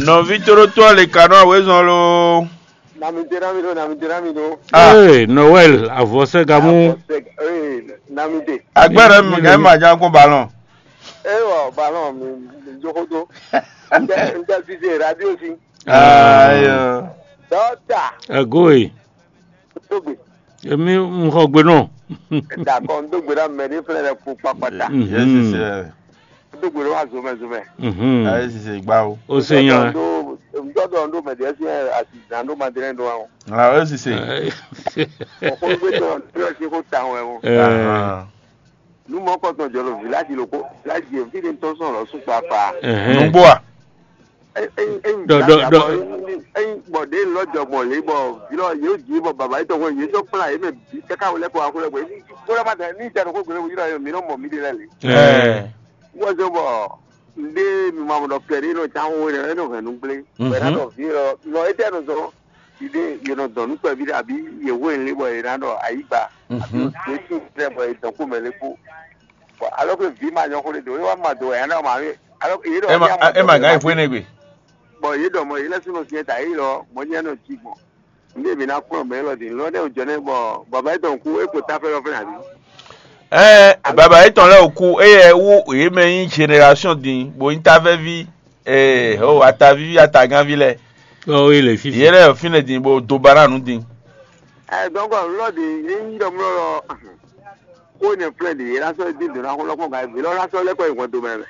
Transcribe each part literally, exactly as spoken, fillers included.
Nɔví tóɖótó ɔ́ le ka nɔ awězɔn loo. Namide namido, namide namido. Ah. Ee, Noël, avɔsɛ́gamú. Ee, namide. Agbára mi gɛ ma ja kó balɔn. Ewɔ balɔn mi mi jókòtó. N tɛ n tɛ sise radio si. Ayo. Dɔta. Ego e. Tó gbe. Emi n xɔ gbe nɔ. Dakɔ n tó gbe ɖa mɛ ní flɛ lɛ kpó kpakpata. Yéé sise. Dó gbe ɖó wá zomɛ zomɛ. Mhm. Ayé sise gbá o. O se nya. Ŋutɔ ɖɔ ɖó mɛ ɖe si asi zan ɖó madrɛ ɖó wa o. Ah, o sise. Ɛ. Ɔkɔlugbe tɔ ɖo si ko ta wɛ o. Ɛ. Ahan. Nu mɔ kɔtɔn jɔ ɖo village loko village yɛ fi de tɔ sɔn lɔ su kpakpa. Ɛhɛn. Nugbo a? Dɔ dɔ dɔ. Eyi bɔ ɖe lɔ jɔ gbɔn le bɔ vilɔ yóò jí bɔ baba yìí tɔgɔ yìí tó kplá yìí mɛ bí kaka wọlé kó akó lɛ gbɛ. Kó lɛ ma dɛ ní ìjà lóko gbélé wòye lɔ yìí mi nɔ mɔ mi de lɛ le. Ɛɛ. Wọ́n zɔ bɔ nde mi ma mɔ dɔ kɛ ɖe nɔ tsa wo ne ɛnɔ hɛn nu gblé. Bɛ na dɔ vi lɔ nɔ etɛ nɔ zɔ ide yɛ nɔ dɔn nu kpɛvi ɖe abi yɛ wo le bɔ yɛ na dɔ ayi gba abi yɛ tu tɛ bɔ yɛ dɔn ko mɛ le kó. Bɔ alɔ ke vi ma nyɔ xó le do yɛ wa ma do yɛ na ma mi alɔ yɛ dɔ. Ema ema gan ifo ene gbe. Bɔ yɛ dɔ mɔ yɛ lɛ sunɔ fiɛ ta yɛ lɔ mɔ nyɛ nɔ ji gbɔn. Nde mi na kplɔn mɛ lɔ din lɔ ne o jɔ ne bɔ baba etɔn ku e ko ta fɛ lɔ fɛ na bi. Ɛɛ baba etɔn lɛ o ku eye wu ye mɛ nyi génération din bo nyi ta fɛ vi. Ee o atavivi atagánvi lɛ. Ɔ o yi le fifi. Ye lɛ fínɛ din bo do ba na nu din. Ɛ dɔnkɔ lɔ di ye nyi dɔ mlɔ lɔ ko ne flɛ di ye la sɔ di do na ko lɔ kɔ ga vi lɔ la sɔ lɛ kɔ yi hɔn do mɛ.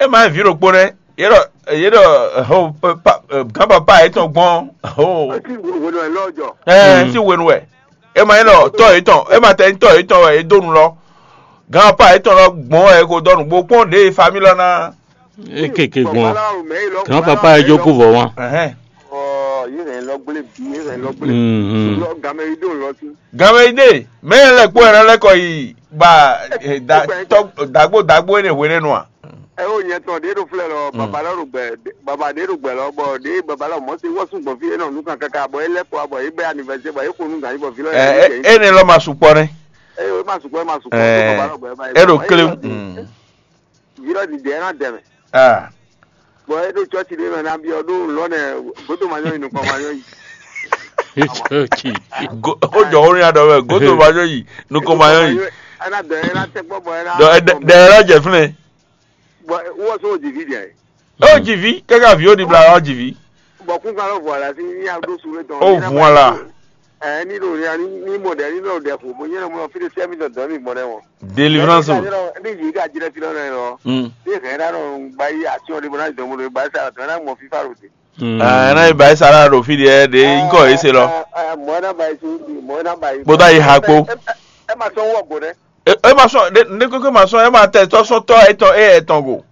E ma vi ɖokpó nɛ ye ɖɔ ye ɖɔ ho pa gán papa yetɔn gbɔn ho. Eti wo wo lɔ jɔ. Ɛɛ si wenu wɛ e ma yi lɔ tɔ yetɔn e ma tɛ tɔ yetɔn wɛ e do nu lɔ gán papa yetɔn lɔ gbɔn wɛ e ko dɔ nugbo kpɔn ɖe famille lɔ na. E keke gbɔn grand papa yɛ jókòó vɔ wan. Ɛhɛn. Ɔ yìí hɛn lɔ gblé bi yìí hɛn lɔ gblé Mhm. Lɔ gamɛ yi dó lɔ sí. Gamɛ yi dé mɛ yẹn lɛ kpó yẹn lɛ kɔ yi ba eh, da tɔ dagbo dagbo yẹn hwe ɖe nua. Ɛ o nyɛ tɔn ɖe ɖo flɛ lɔ baba lɔ ɖo gbɛ baba ɖe ɖo gbɛ lɔ bɔ ɖe baba lɔ mɔ se wɔ sún gbɔn fi yẹn nɔ nu kan kaka bɔ e lɛ kɔ bɔ e bɛ anivɛsɛ bɔ e ko nu gan yi bɔ fi lɔ Ɛ yɛ e ne lɔ ma sukpɔ ne. Ɛ o ma sukpɔ ma sukpɔ Ɛ baba lɔ gbɛ ba e ɖo kle. Virɔ ɖiɖi ɛ na dɛmɛ. Ah. Bɔn e ɖo tsɔtsi ɖe mɛ na biɔ ɖo lɔ nɛ godo ma nyɔ yi nukɔ ma nyɔ yi. Go- o jɔ o nya dɔ mɛ godo ma nyɔ yi nukɔ ma nyɔ yi. Ɛna dɔ ɛna tɛ kpɔ bɔ ɛna. Dɔ ɛdɛ ɛdɛ yɛrɛ jɛ fúnɛ. Bɔn wɔ so o jivi jɛ. O jivi kɛkɛ avi o di bla o jivi. Bɔn kún kan lɔ vɔ la si ní a ɖó su lé tɔn. O vɔ la. Ɛ ní ɖo ní ní mɔ ɖɛ ní ɖo ɖɛ ko bó nyɛ mɔ fi ɖe sɛ mi dɔn dɔn mi gbɔn ɖɛ wɔn. Délivrance o. Ní yìí ká jírɛ fi lọ́nà yẹn lọ. Mm. Ní ìkànnì náà ń gba yí àti ọdún bọ́lá ìdánwò lórí bá sára tó náà mọ̀ fífà rò dé. Mm. Ah, ɛnɛ ba yi sara ɖo fi ɖe ɖe nkɔ yi se lɔ. Mɔɛ na ba yi si mɔɛ na ba yi. Kpódó ayi ha kpó. Ɛ ma sɔn wɔ gbɔn dɛ. E ma sɔn ne kókó ma sɔn e ma tɛ tɔ sɔn tɔ etɔn e etɔn go.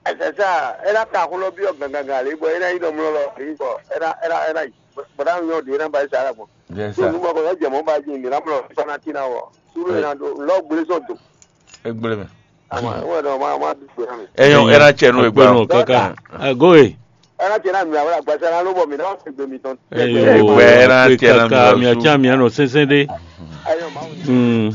Ɛsɛ sa ɛ na ta ko lɔ bi ɔ gangan le bɔ e na yi dɔ mlɔ lɔ yi bɔ ɛ na ɛ na ɛ na yi bɔ na nyɔ de e na ba yi sara gbɔn. Yes, sir. Tó nu bɔ kɔ yɔ jɛ mɔ ba ji mi na mlɔ fana ti na wɔ. Suru e na do lɔ gbele sɔn do. Egblé mɛ. Ama wɛ dɔ ma ma du gbɛ na mi. Eyan era tsɛ nu egba. Kaka. Agoe. Ɛ na tsɛ na mi awɛ agbasa na ló bɔ mi na ɔ se gbe mi tɔn. Eyo. Egbe era tsɛ na mi kaka mi atsa mi anɔ sɛnsɛn de. Ayɔ ma. Mm.